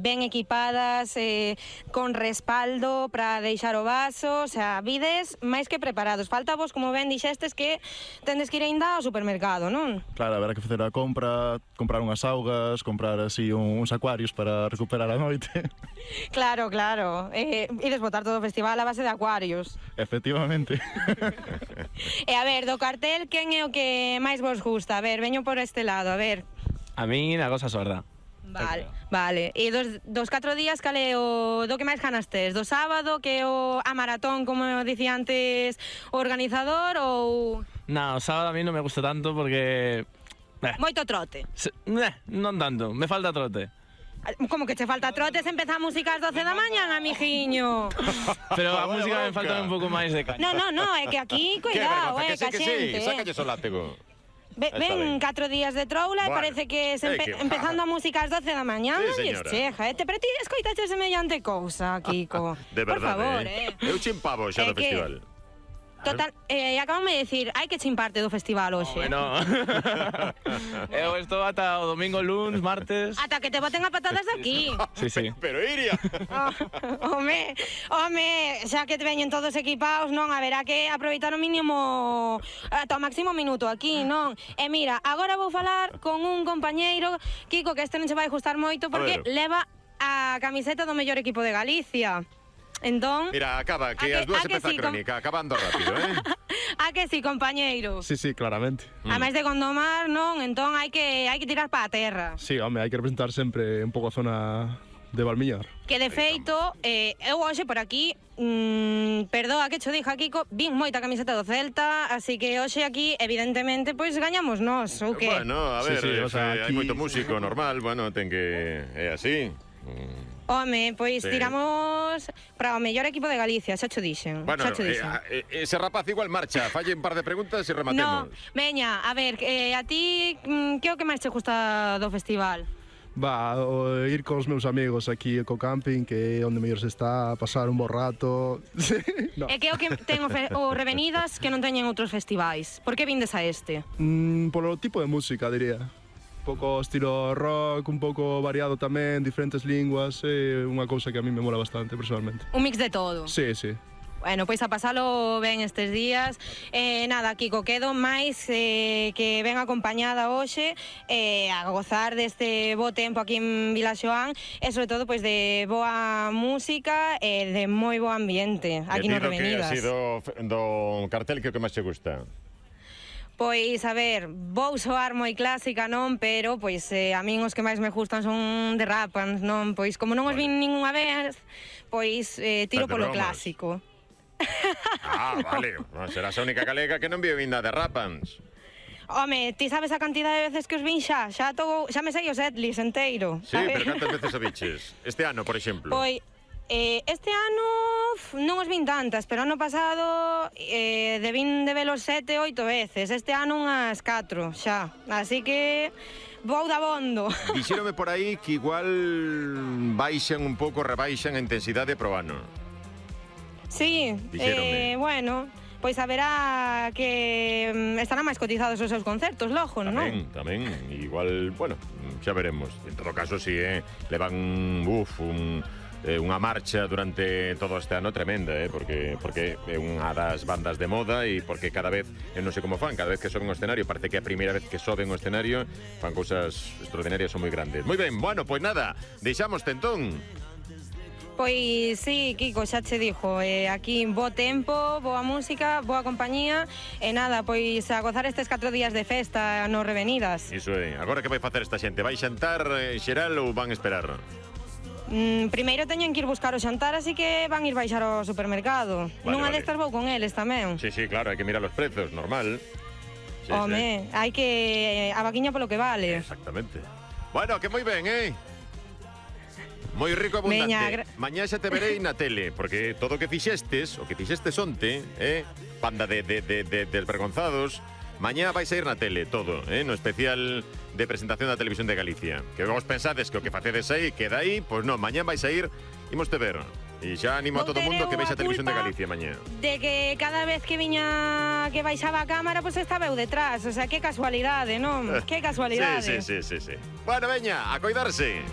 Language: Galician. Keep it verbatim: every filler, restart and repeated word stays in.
ben equipadas, eh, con respaldo para deixar o vaso, o sea, vides máis que preparados. Falta vos, como ben dixestes, que tendes que ir ainda ao supermercado, non? Claro, haberá que facer a compra, comprar unhas augas, comprar así uns acuarios para recuperar a noite. Claro, claro. Eh, ides botar todo o festival a base de acuarios. Efectivamente. E a ver, do cartel, quen é o que máis vos gusta? A ver, veño por este lado, a ver. A mí, na cosa sorda. Vale, vale. E dos, dos catro días, cal é o do que máis ganas tes? Do sábado, que é o a maratón, como dicía antes o organizador, ou... No, o sábado a mí non me gusta tanto porque... Eh, Moito trote. se, eh, non tanto, me falta trote. Como que che falta trote se empeza a música ás doce da mañan, amigiño? Pero a Joder, música me boca. falta un pouco máis de caña. No, no, no, é que aquí, Que cuidado, vergonza, eh, que sí, ca que sí, xente, eh. sácalle o látigo. Ve- Está ben. Ven catro días de troula e Bueno, parece que se é empe que- empezando a música ás doce da mañan, Sí, non lles señora. cheja, eh? Te, pero ti escoitaches semellante cousa, Kiko. De Por verdade, favor, eh? eh. Eu chimpavo xa É do que- festival. Total, eh, acabame de decir, hai que chimparte do festival hoxe. Bueno, eu estou ata o domingo, luns, martes... Ata que te boten a patadas de aquí. Sí, sí. Pero Iria. Oh, home, home, xa que te veñen todos equipados, non, haberá que aproveitar o mínimo ata o máximo minuto aquí, non? E mira, agora vou falar con un compañeiro, Kiko, que este non se vai gustar moito porque ver. leva a camiseta do mellor equipo de Galicia. Entón, Mira, acaba, que A que- as dúas a que empeza a sí, com- crónica, acabando rápido, eh? a que si, compañeiro? Sí, sí, claramente. A máis de condomar, non? Entón hai que hai que tirar para a terra. Sí, home, hai que representar sempre un pouco a zona de Valmiñar. Que de feito, eh, eu hoxe por aquí, mm, perdoa que cho dixa, Kiko, vin moita camiseta do Celta, así que hoxe aquí, evidentemente, pois gañamos nós, ou que? Bueno, a Sí, ver, sí, eh, o sea, hai aquí- moito músico, normal, bueno, ten que... É así. Mm. Home, pois Sí. tiramos para o mellor equipo de Galicia, xa cho dixen, Bueno, xa cho eh, dixen. a- eh, ese rapaz igual marcha, falle un par de preguntas e No, rematemos. veña, a ver, eh, a ti, mm, que é o que máis te gusta do festival? Va, o ir cos meus amigos aquí co camping, que é onde mellor se está, a pasar un bo rato. Sí, no. É que é o que ten o, fe, o Revenidas que non teñen outros festivais. Por que vindes a este? Mm, polo tipo de música, diría. Un pouco estilo rock, un pouco variado tamén, diferentes linguas, é unha cousa que a mí me mola bastante, personalmente. Un mix de todo. Sí, sí. Bueno, pois a pasalo ben estes días. Eh, nada, Kiko, quedo máis eh, que ben acompañada hoxe eh, a gozar deste bo tempo aquí en Vilaxoán e sobre todo pois de boa música e de moi bo ambiente aquí E ti no do que Revenidas. así do, do cartel que é o que máis te gusta? Pois, a ver, vou soar moi clásica, non? Pero, pois, eh, a min os que máis me gustan son de Rapans, non? Pois, como non os vin ningunha vez, pois, eh, tiro Fate polo bromas. clásico. Ah, vale, no, serás a única galega que non viu vinda de Rapans. Home, ti sabes a cantidad de veces que os vin xa? Xa, to, xa me sei o setlist enteiro. Sí, sabes? pero cantas veces a biches? Este ano, por exemplo. Pois, eh, este ano uf, non os vin tantas, pero ano pasado eh, debín de velos sete, oito veces. Este ano unhas catro, xa. Así que vou da bondo. Dixérome por aí que igual baixan un pouco, rebaixan a intensidade pro ano. Sí, Dixéronme. eh, bueno, pois haberá que mm, estarán máis cotizados os seus concertos, logo, non? Tamén, tamén, igual, bueno, xa veremos. En todo caso, si, eh, levan, uf, un... Eh, unha marcha durante todo este ano tremenda, eh, porque porque é unha das bandas de moda e porque cada vez, eu non sei como fan, cada vez que soben o escenario, parece que é a primeira vez que soben o escenario, fan cousas extraordinarias, son moi grandes. Moi ben, bueno, pois nada, deixamos tentón. Pois sí, Kiko, xa che dixo, eh, aquí bo tempo, boa música, boa compañía, e nada, pois a gozar estes catro días de festa no Revenidas. Iso é, agora que vai facer esta xente? Vai xantar eh, xeral ou van esperar? Mm, primeiro teñen que ir buscar o xantar, así que van ir baixar ao supermercado. Vale, Nunha vale. destas vou con eles tamén. Sí, sí, claro, hai que mirar os prezos, normal. Sí, Home, hai que... a vaquiña polo que sí. vale. Exactamente. Bueno, que moi ben, eh? Moi rico e abundante. Veña, gra- Mañá xa te verei na tele, porque todo o que fixestes, o que fixestes onte, eh? Banda de, de, de, de desvergonzados, mañá vais a ir na tele, todo, eh? No especial de presentación da Televisión de Galicia. Que vos pensades que o que facedes aí queda aí, pois non, mañá vais a ir, imos te ver. E xa animo a Vou todo o ter mundo que eu vexa a a Televisión de culpa Galicia mañá. De que cada vez que viña que baixaba a cámara, pois pues estaba eu detrás. O sea, que casualidade, non? Que casualidade. Sí, sí, sí, sí, sí. Bueno, veña, a coidarse.